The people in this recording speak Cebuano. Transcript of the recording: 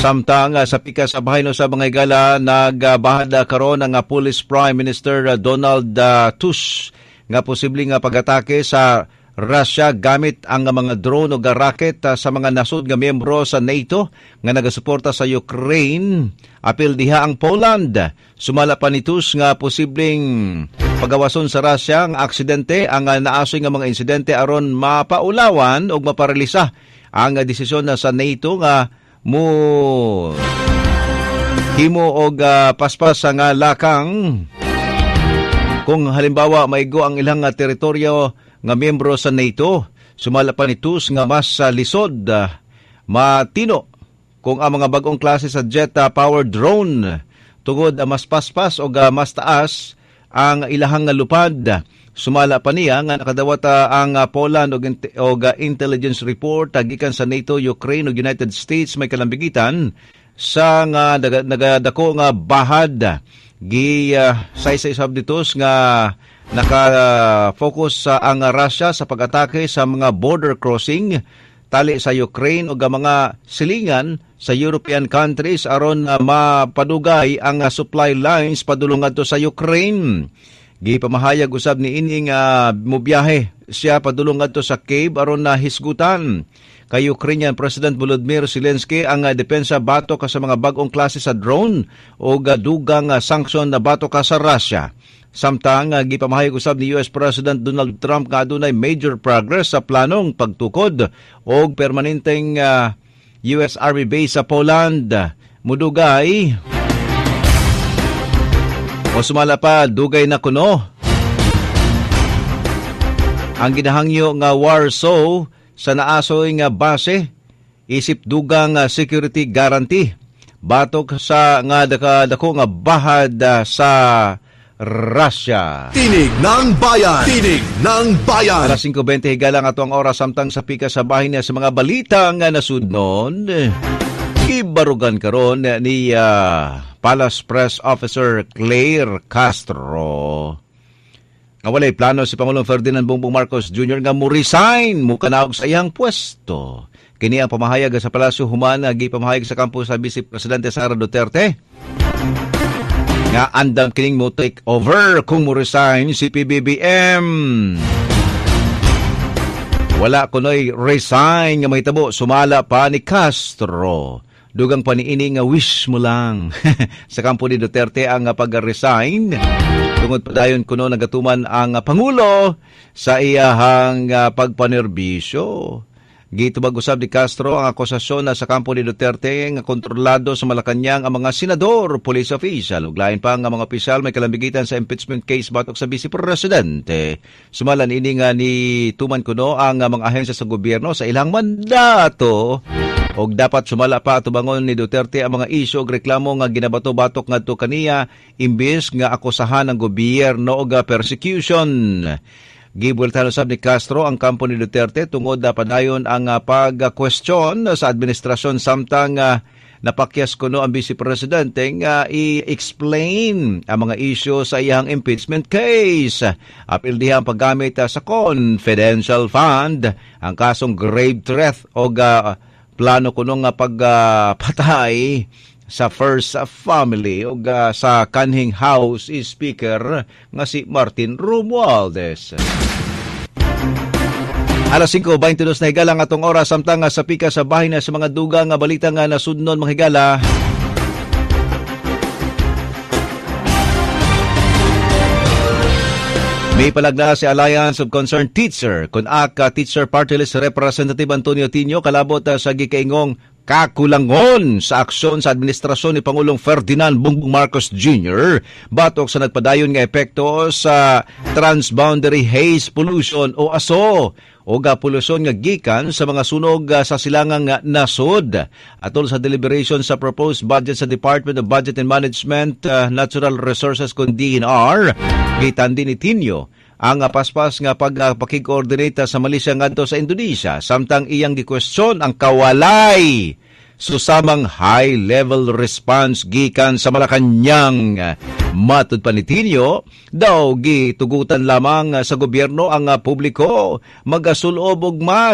Samtang sa pikas sa bahin sa mga higala, nagbahad karon ang Police Prime Minister Donald Tusk nga posible nga pag-atake sa Russia gamit ang mga drone o rocket sa mga nasod nga miyembro sa NATO nga nagasuporta sa Ukraine. Apil diha ang Poland. Sumala pa ni Tusk nga posibleng pagawason sa Russia ang aksidente ang naasoy nga mga insidente aron mapaulawan o maparelisa ang desisyon na sa NATO nga mo himo og paspas nga lakang kung halimbawa maigo ang ilang teritoryo nga miyembro sa NATO. Sumala pa ni Tusk nga mas lisod matino kung ang mga bagong klase sa jet powered drone tungod mas paspas o mas taas ang ilahang lupad. Sumala pa niya nga nakadawat ang Poland og intelligence report gikan sa NATO, Ukraine ug United States may kalambigitan sa nga nagadako nga bahad. Gi saysay sab dito nga naka-focus sa ang Russia sa pag-atake sa mga border crossing tali sa Ukraine ug mga silingan sa European countries aron mapadugay ang supply lines padulong ngadto sa Ukraine. Gipamahayag usab ni ini nga mobiyahe siya padulong ngadto sa Kiev aron na hisgutan kay Ukrainian President Volodymyr Zelensky ang depensa batok sa mga bag-ong klase sa drone o dugang sanksyon na batok sa Russia. Samtang gipamahayag usab ni US President Donald Trump nga adunay major progress sa planong pagtukod og permanenteng US Army base sa Poland. Mudugay o sumala pa, dugay na kuno ang ginahangyo nga Warsaw sa naasoy nga base isip dugang security guarantee batok sa nga dako nga bahad sa Russia. Tinig ng Bayan! Tinig ng Bayan! Alas 5:20 higala nga atuang oras samtang sa pika sa bahin niya sa mga balita nga nasudnon. Ibarugan karon ni Palace Press Officer Claire Castro nga walay plano si Pangulong Ferdinand Bongbong Marcos Jr. nga mo-resign mukanaog sa iyang pwesto. Kini ang pamahayag sa Palasyo human gipamahayag sa kampo sa Vice Presidente Sara Duterte nga andam kining mo take over kung mo resign si PBBM. Wala kunoy resign nga mahitabo, sumala pa ni Castro. Dugang paniini nga wish mo lang sa kampo ni Duterte ang pag-resign. Tungod padayon kuno nagatuman ang Pangulo sa iyahang pagpanerbisyo. Gitubag usab ni Castro ang akusasyon na sa kampo ni Duterte nga kontrolado sa Malacañang ang mga senador, police official ug lain pa nga mga opisyal may kalambigitan sa impeachment case batok sa Vice Presidente. Sumalan ini nga ni tuman kuno ang mga ahensya sa gobyerno sa ilang mandato og dapat sumala pa atubangon ni Duterte ang mga isyu og reklamo nga ginabato-batok ngadto kaniya imbes nga akusahan ang gobyerno og persecution. Gibueltahan usab ni Castro ang kampo ni Duterte tungod na padayon ang pag-question sa administrasyon samtang napakyas kuno ang Vice Presidente nga i-explain ang mga isyu sa iyang impeachment case. Apil diha ang paggamit sa confidential fund, ang kasong grave threat o plano kuno nga pagpatay sa First Family o sa kanhing House Speaker nga si Martin Romualdez. Alas 5:22 na higala nga atong oras samtang sa pika sa bahin na sa mga dugang nga balita nga nasudnon mga higala. May palagna si Alliance of Concerned Teacher kun aka Teacher Party List Representative Antonio Tino kalabot sa gikaingong kakulangon sa aksyon sa administrasyon ni Pangulong Ferdinand Bongbong Marcos Jr. batok sa nagpadayon nga epekto sa transboundary haze pollution o aso o polusyon nga gikan sa mga sunog sa silangang nasod. Atol sa deliberation sa proposed budget sa Department of Budget and Management, Natural Resources kun DNR, gitandi ni Tino ang paspas nga pagpakig-coordinate sa Malaysia ngadto sa Indonesia samtang iyang gikwestiyon ang kawalay susamang high-level response gikan sa Malacañang. Matud pa ni Tino, daw gitugutan lamang sa gobyerno ang publiko magasulob og mas